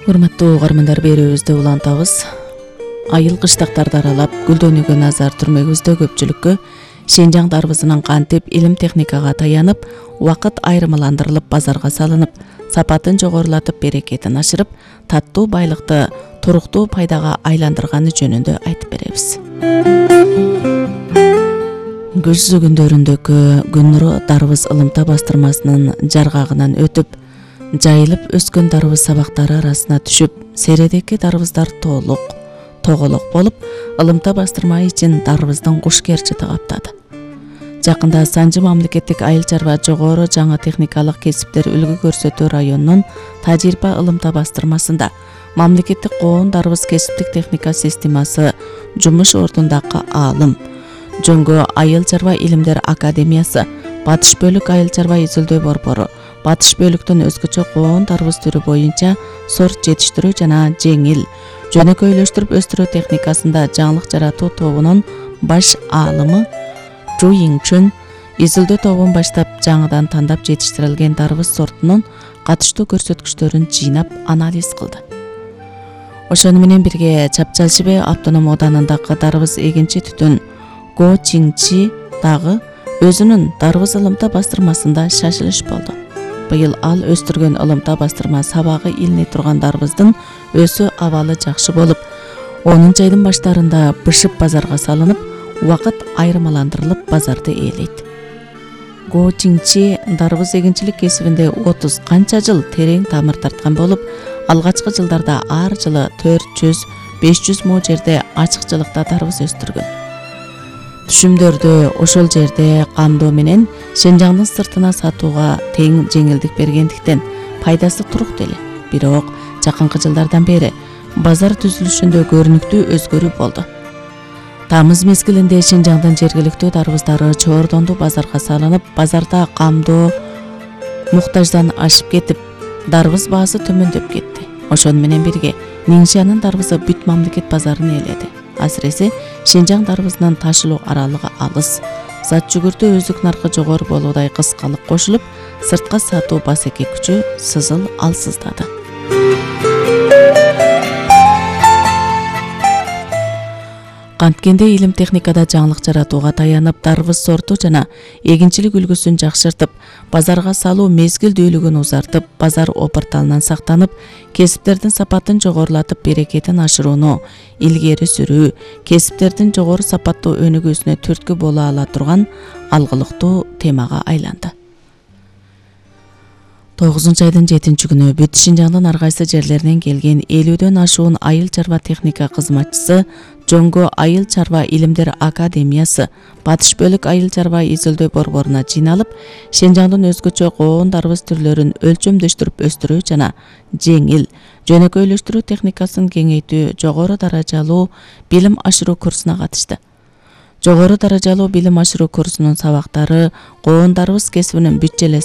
Урматтуу угармандар, берүүбүздү улантабыз. Айыл кыштактарды аралап гүлдөнүүгө назар түрмөгүбүздө көпчүлүккө Шенжаң дарбызынын кантип илим техникага таянып, убакыт айырмаландырылып базарга салынып, сапатын жогорулатып, берекетин ашырып, таттуу байлыкты туруктуу пайдага айландырганы жөнүндө айтып беребиз. Көз күндөрүндөгү күн нуру дарбыз ылымта бастырмасынын жаргагынан өтүп, жайылып өскөн дарбыз сабактары арасына түшүп, середеки дарбыздар тоголок болуп, ылымта бастырма ичин дарбыздын куш керчити каптады. Жакында Санжы мамлекеттик айыл чарба жогору жаңы техникалык кесиптер үлгү көрсөтүү районунун тажрыйба ылымта бастырмасында мамлекеттик коон дарбыз кесиптик техника системасы жумуш ордундагы аалым, Жөнгө айыл чарба илимдер академиясы, Батыш бөлүк айыл чарба изилдөө борбору, Батыш бөлүктөн өзгөчө коон дарбыз түрү боюнча сорт жетиштирүү жана жеңил, жөнөкөйлөштүрүп өстүрүү техникасында жаңылык жаратуу тобунун баш аалымы Жу Йиңчүн изилдөө тобун баштап, жаңыдан тандап жетиштирилген дарбыз сортунун катыштуу көрсөткүчтөрүн жыйнап анализ кылды. Ошону менен бирге Чапчалшыбе автоном ооданындагы дарбыз эгинчи түтүн Го Чиңчи дагы өзүнүн дарбыз ылымта бастырмасында шашылыш болду. Быйыл ал өстүргөн ылымта бастырма сабагы илине турган дарбыздын өсүү абалы жакшы болуп, 10 айдын баштарында бышып базарга салынып, убакыт айырмаландырылып базарды ээлейт. Го Чиңчи дарбыз эгинчилик кесибинде 30 канча жыл терең тамыр тарткан болуп, алгачкы жылдарда ар жылы 400-500 мо жерде ачыкчылыкта дарбыз өстүргөн. Түшүмдөрдү ошол жерде камдоо менен Шенжаңдын сыртына сатууга тең жеңилдик бергендиктен пайдасы туруктуу эле. Бирок жакынкы жылдардан бери базар түзүлүшүндө көрүнүктүү өзгөрүү болду. Тамыз мезгилинде Шенжаңдын жергиликтүү дарбыздары чоордондуу базарга салынып, базарда камдоо муктаждан ашып кетип, дарбыз баасы төмөндөп кетти. Ошону менен бирге Ниңшанын дарбызы бүт мамлекет базарын ээледи. Асыресе Шенжаң дарбызынын ташылуу аралыгы алыс, зат жүгүртүү өзүк наркы жогору болуудай кыскалык кошулуп, сыртка сатуу басеке күчү сызыл алсыздады. Канткенде илим техникада жаңылык жаратууга таянып, дарбыз сорту жана эгинчилик үлгүсүн жакшыртып, базарга салуу мезгилдүүлүгүн узартып, базар опурталынан сактанып, кесиптердин сапатын жогорулатып, берекетин ашырууну илгери сүрүү, кесиптердин жогору сапаттуу өнүгүүсүнө түрткү боло ала турган алгылыктуу темага айланды. 9 айдын 7-күнү бүт Шенжаңдын ар кайсы жерлеринен келген 50дөн ашуун айыл чарба техника кызматчысы Жөнгө айыл чарба илимдер академиясы, Батыш бөлүк айыл чарба изилдөө борборуна жыйналып, Шенжаңдын өзгөчө коон дарбыз түрлөрүн өлчөмдөштүрүп өстүрүү жана жеңил, жөнөкөйлөштүрүү техникасын кеңейтүү жогору даражалуу билим ашыруу курсуна катышты. Жогору даражалуу билим ашыруу курсунун сабактары коон дарбыз кесибинин бүт желе